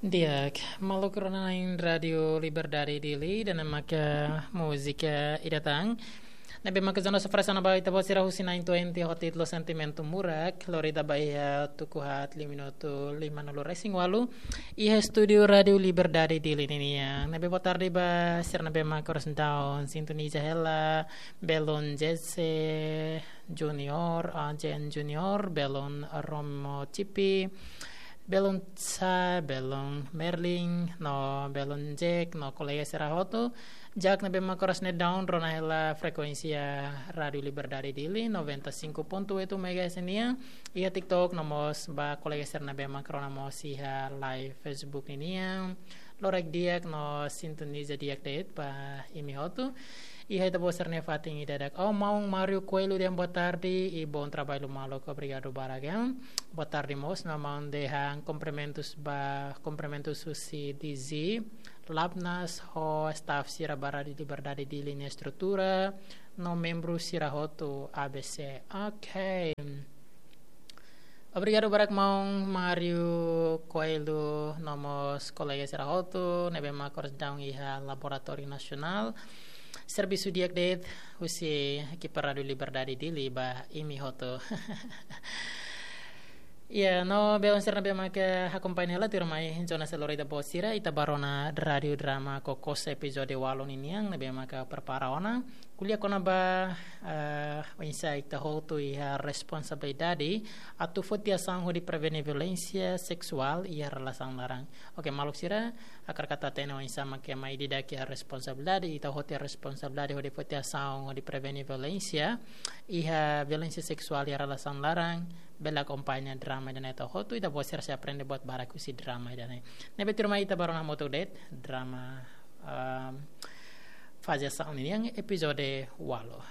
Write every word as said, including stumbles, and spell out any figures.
Di'ak, maluk rona na'in Rádiu Liberdade Dili, ida-ne'e maka múzika ida tan ne'ebé maka zona sofresa na ba ita-boot sira husi na'in twenty ho títulu Sentimentu Murak, lori ita ba iha tuku haat liu minutu limanulu-resin-ualu, iha estúdiu Rádiu Liberdade Dili ninian. Ne'ebé boa tarde ba sira ne'ebé maka oras daudaun sintoniza hela, belun Jesse Junior, ah, Jen Junior, belun Romo Cipi, belun Sa, belun Merlin, no belun Jack, no kolega sira hotu. Jack ne'ebé maka oras ne'e daudaun rona hela frekuénsia Rádiu Liberdade Dili, noventa e cinco ponto oito megahertz nian. Iha TikTok no mós ba kolega sira ne'ebé maka rona mós iha live Facebook ninian. Loraik di'ak no sintoniza di'ak de'it ba imi hotu. Iha ita-boot sira-nia fatin ida dak. Oh, maun Mário Coelho dehan boa tarde i bom trabalho maluk, obrigadu barak. Boa tarde mós, no maun dehan kumprimentus ba, kumprimentus husi D Z, Labnas ho staff sira ba Rádiu Liberdade Dili nia estrutura, no membru sira hotu A B C. Ok. Obrigadu barak maun Mário Coelho no mós kolega sira hotu ne'ebé maka oras daudaun iha Laboratóriu Nasionál servisu di'ak de'it husi ekipa Rádiu Liberdade Dili ba imi hotu. Ya, no belun sira ne'ebé maka akompaña hela tuirmai zona selori ita-boot sira, ita ba rona Rádiu Drama Kokos epizódiu ualu ninian ne'ebé maka prepara ona. Ko'alia kona-ba, eh, oinsá ita hotu iha responsabilidade atu foti asaun hodi prevene violénsia seksuál iha relasaun laran. Ok, maluk sira, hakarak atu hatene oinsá maka ema ida-idak iha responsabilidade, ita hotu iha responsabilidade hodi foti asaun hodi prevene violénsia, iha violénsia seksuál iha relasaun laran, bele akompaña drama ida-ne'e to'o hotu, ita-boot sira sei aprende buat barak husi drama ida-ne'e. Ne'ebé tuirmai ita ba rona hamutuk de'it drama, ehm, faze asaun ninian epizódiu ualu.